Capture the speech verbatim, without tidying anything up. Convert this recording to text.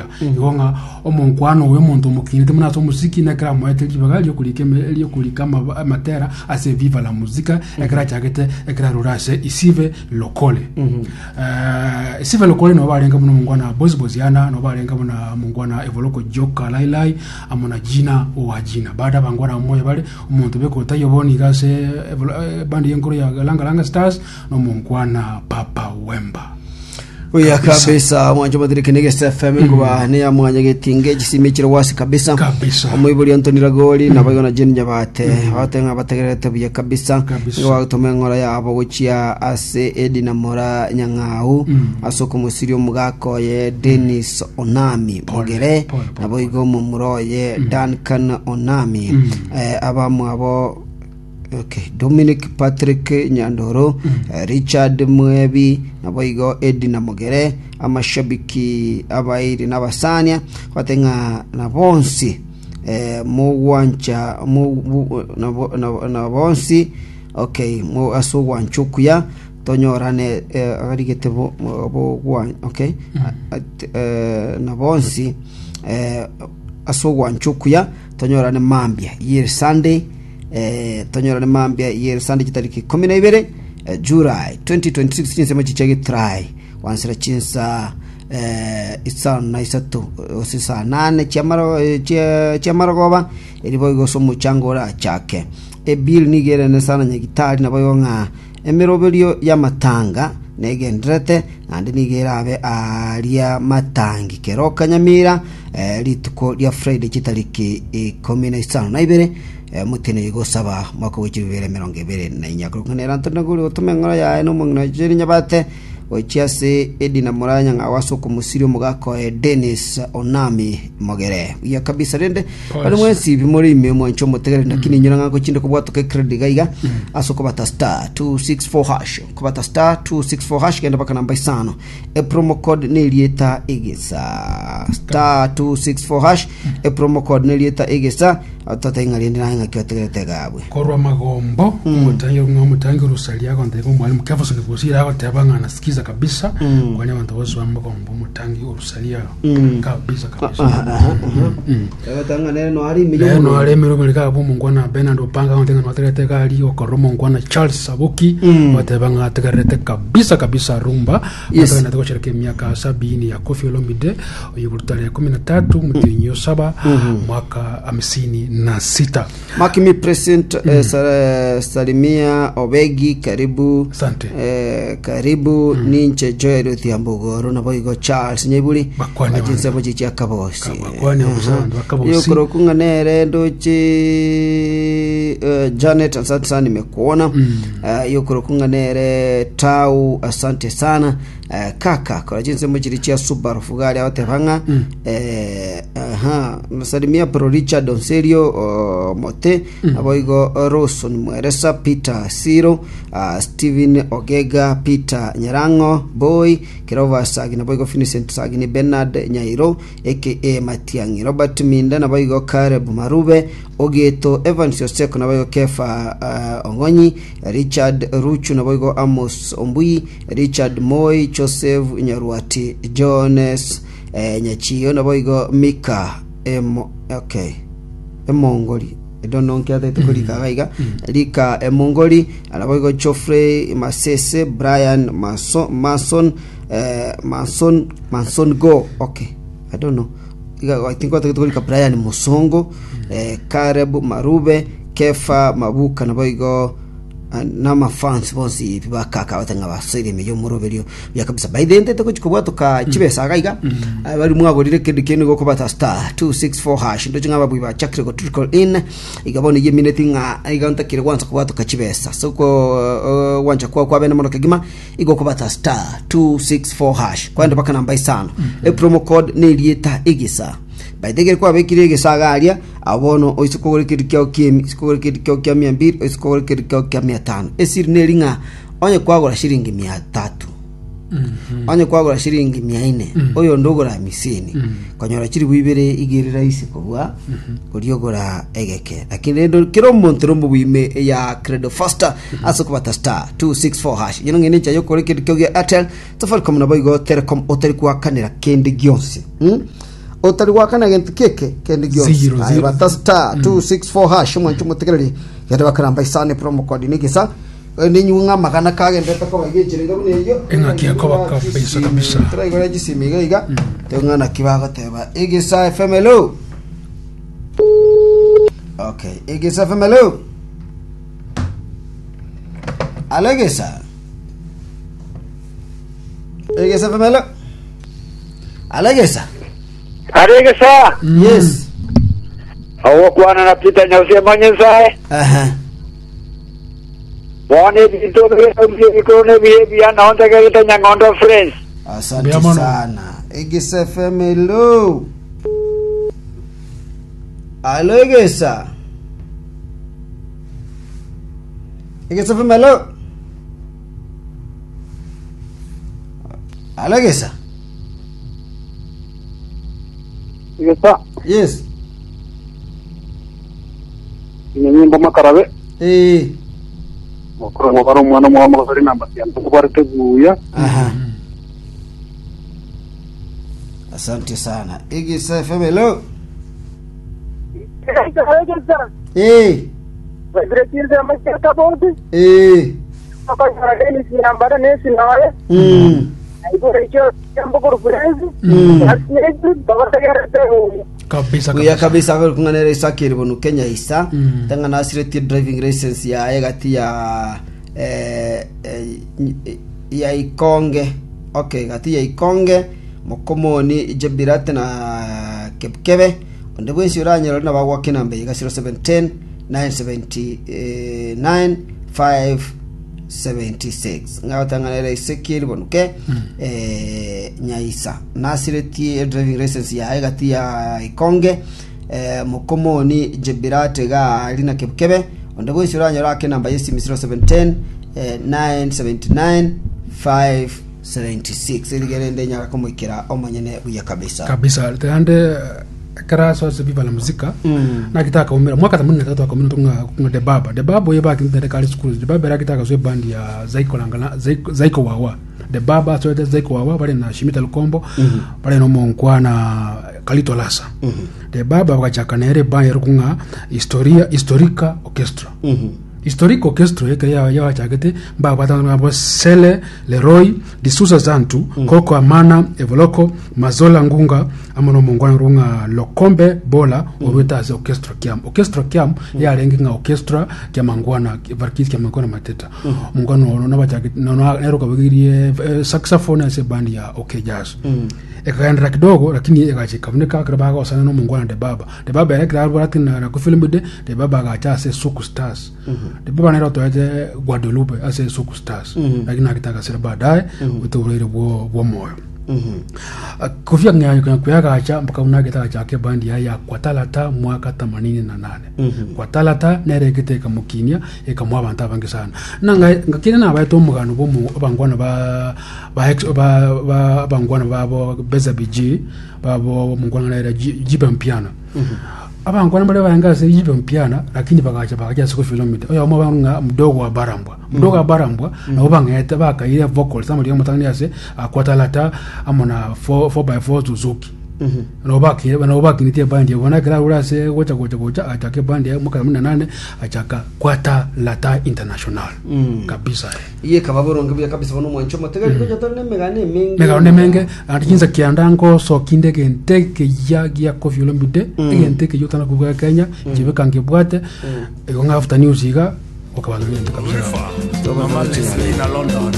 oria. Igo ng'a omonkwano oyo omonto omokinete muna ase omosiki nekero amoete ribaga riokorika eme- riokorika ama- amatera ase Viva la Musica, ekero achagete, ekero arure ase Isive Lokole. Eh, Isive Lokole nabo barenge buna omongwana Bosi Bosiana, nabo barenge buna omongwana Evoloko Joka Lailai amo na Jina owa Jina. Baada abangwana moyo bare omonto bekotaiyo bono iga ase Evolo- eh, bandi yenkoro ya Langa Langa Stars na omongwana Papa Wemba. Oya kabisa, mwancho matirike nige F M kuba ne ya mwanya getinge chisimi chiro wasi kabisa. Kabisa. Omoibori Anthony Ragori na bayo na Jane Nyabate batenga bategerete buya kabisa. Kabisa. Nigo bagotoma eng'ora yabo gochia ase Edina Mora Nyang'au ase okomosiri omogaka oye Dennis Onami Mogere, pole, pole, nabo igo omomura oye Duncan Onami, eh, abamwabo, okay, Dominic Patrick Nyandoro, eh, Richard Mwebi, naboigo Edina Mogere, amashabiki abairi n'abasania batenga na bonsi, eh, mugwancha mu- bu- nabo- nabo- na bonsi, okay, mu ase ogwancha okuya tonyorane, eh, arigete bo, bo, bo, okay, At- eh, na bonsi, eh, ase ogwancha okuya tonyorane mambia yere Sunday, eh, tonyorane mambia yere Sunday chitariki ikumi na ibere, eh, July twenty twenty-six, chinsemo chicha gitrai wansera chinsa eh, isano na isato gose saa nane chiamaro- eh, chia- chiamarogoba eri boigo ase omochango orachake ebill nigo erene sana nyagitari, nabo igo ng'a emeroberio y'amatanga negenderete naende nigo erabe aria matangi Keroka Nyamira, eh, rituko ria Friday chitariki ikomi na isano na ibere, eh, motene gosaba mwaka wa chibibere emerongo ebere na inya. Korokana Antony Naguri gotoma eng'oro yaye na omong'ina Jerry Nyabate gochia ase Edina Muranya ng'a ase okomosiri omogaka oye Dennis Onami Mogere. Buya kabisa rende. Pole. Bari mwensi bimore ime mwancho omotegere, lakini inyora ng'a gochinde kobwatoka ecredit gaiga ase okobata star two six four hash, kobata star two six four hash, genda baka namba isano, epromo code nerieta egesa, star two six four hash, epromo code nerieta egesa, tata ng'a rende naye ng'aki otegerete gabwe. Korwa magombo omotangi omotangi orusaria agonteba omwalimu Kefferson Bosire agoteba ng'a nasikiza kabisa, kwani abantu bose ba magombo, omotangi orusaria kabisa kabisa. Agatanga nere no ari ime. Lero no aremero bari gabo omongwana Bernard Opanga agonteba ng'a notegerete gari okorora omongwana Charles Sabuki bateba ng'a ategerete kabisa kabisa rumba. Yes. Batagenda goshereka emiaka sabini ya Koffi Olomide oyo tarehe kumi na tatu mtinyi saba mwaka hamsini na sita. Makimi President, eh, sa- salimia Obegi, karibu. Asante. eh, karibu ninche Joel Othiambogoro nabo igo Charles Nyeburi. Bakwani. Achinse bo chichi akabosi. Bakwani abusa bakabosi. Yokorokunga nere ndoche, eh, Janet, asante sana, nimekuona. mm. Yokorokunga nere Tau, asante sana, eh, kaka kora chinse mo chiri chia Subaru Fugari abatebanga, eh, aha, nasalimia Pro Richard Onserio, uh, Mote, nabo igo Roson Mweresa, Peter Siro, uh, Steven Ogega, Peter Nyarango Boy Kirova Sagi, nabo igo Vincent Sagini, Bernard Nyairo aka Matiangi, Robert Minda, nabo igo Caleb Marube Ogeto, Evans Yoseko, nabo igo Kefa uh, Ongonyi, Richard Ruchu, nabo igo Amos Ombui, Richard Moi, Joseph Nyaruati, Jones, eh, Nyachiyo, nabo igo Mika Emo, okay, Emongori, I don't know nkiatete korika gaiga rika Emongori, nabo igo Geoffrey Masese, Brian Mason, Mason, eh, Mason Mason go, okay, I don't know. Iga- I think watagete korika Brian Musongo, eh, Caleb Marube, Kefa Mabuka, nabo igo n'amafans bonsi bakaka batanga basoire ime y'omoroberio bya kabisa. By the end gochika bwatoka chibesa gaiga, Ah, bari mwagorire kindu kindu gokobata star two six four hash, ndo ching'a babui bachakire go trickle in iga bono ye minute ng'a iga ntakire gwanza kubwatoka chibesa, so ko uh, wancha kwa kwa bene mono kegima igo kubata star two six four hash kwenda baka namba isano, e promo code ni rieta igisa. By the way, kwabekire egesaga aria abono oise kogora kindu kiao kiemi kogora kindu kiao kia mia mbili, oise kogora kindu kiao kia mia tano, esiri neri ng'a onye kwagora shilingi mia tatu. Onye kwagora shilingi mia nne, oyo ndogora hamisini, konyora chiribu ibere igere rahisi kobua oriogora egeke. Lakini rendo kero omonto romobwime ya Credo Faster ase okobata star two six four hash. Yeno ng'ene ncha yokore kende kiogia Airtel, Safaricom nabo igo Telecom otari gwakanera kende gionsi. Mm? Otari gwakana gento keke kende gionsi. Zero, Aye, zero. bata star two six four hash omwancho motegereri gende bakaramba isane promo code nigisa ninyung'a magana kagendete koba igechirenga buna eyo Eng'aki ekoba kabisa, kabisa. turaigora chisimi iga iga teng'ana kibagoteba Egesa F M hello. Okay, Egesa F M hello. Alo Egesa. Egesa F M hello. Alo Egesa. Aregesa Yes. ogokwana na Peter Nyausie Manyensae. Aha. Bone ebinto bikoro nebihe naontegerete Nyang'ondo Friends. Asante Mbuya mono. sana. Egesa F M hello. Alo Egesa. Egesa F M hello. Alo Egesa. Egesa Yes. nyimbo makarabe Eh. mukuru mubara omwana omwana namba yantukubarete buya. Aha. Asante sana. Egesa F M hello. Eh. Eh. Mm. Mm. Kabisa Kuya kabisa. kabisa kunganera isakiri bunu Kenya isa Mm. tanga nasireti driving license ya gati ya eh, eh, ya Ikonge. Okay, gati ya Ikonge Mokomoni Jebirate na Kepkebe onde bwensi uranyero na bagwa kinambe iga zero seven ten nine seventy nine five seventy six ngabatanganera isekiri bonuke eh, nyaisa nasireti driving license ya gati ya Ikonge eh, Mokomoni Jebirate ga lina Kepkebe onde bwensi uranyero ake namba yesimi zero seven ten eh, nine seventy nine five seventy six irigerende nyara komoikera omonyene buya kabisa kabisa tande kara so se Viva la Muzika Mm. na kitaka umira mwaka themanini na tatu akamina tunga kunga de baba de baba ye baki ndere kali school de baba rakitaka so band ya Zaiko langala Zaiko, Zaiko wawa de baba so de Zaiko wawa bale na Shimita Lukombo bale no monkwa na Kalito Lasa de baba bakachaka nere band rukunga historia historica orchestra historic orchestra yeke ya ya chakete ba batanga bo Sele Leroy Disusa Zantu mm. Koko Amana Evoloko Mazola Ngunga amono mongwana runga Lokombe Bola mm. Orweta ase orchestra kiam orchestra kiam mm. ya rengi nga orchestra kia mangwana varkis kia mangwana mateta mm. Mongwana ono na bachakete no no nero kabigirie eh, saxophone ase band ya OK Jazz mm. Ekaendera kidogo lakini ekachikaboneka kira osana no mongwana de baba de baba era kira bora tina na kufilm de de baba agacha ase Suku Stars de baba nero toete Guadalupe ase Suku Stars lakini akitaka sira baadaye utourire bwo bwo moyo kufia ngayo kuyagacha mpaka unageta chake bandi ya ya kwatalata mwaka themanini na nane kwatalata nerekete ikamukinia ikamwa abantu abangi sana na ngakire na abaeto omugano bomu abangwana ba ba ex ba ba abangwana babo beza B G babo mungwana naira jibe mpiana abangwana bale bayanga se jibe mpiana lakini bakacha bakacha siku filomita oyo mo banga mdogo wa barambwa mdogo wa barambwa nabo bangeta bakaire vocals amali mutangani ase akwatalata amona four by four Suzuki nabo bakire nabo bakinitie bandi bona kira ura se gocha gocha gocha achake bandi ya mwaka themanini na nane achaka kwata lata international kabisa. Iye kababoronge buya kabisa bono mwancho motegeri ko jatore nemegane emenge. Megano nemenge atinza kiandango so kinde gente ke ya gia Koffi Olomide egente ke yotana kuvuga Kenya jibe kange bwate ego nga after news iga okabantu kabisa. Mama Leslie na London.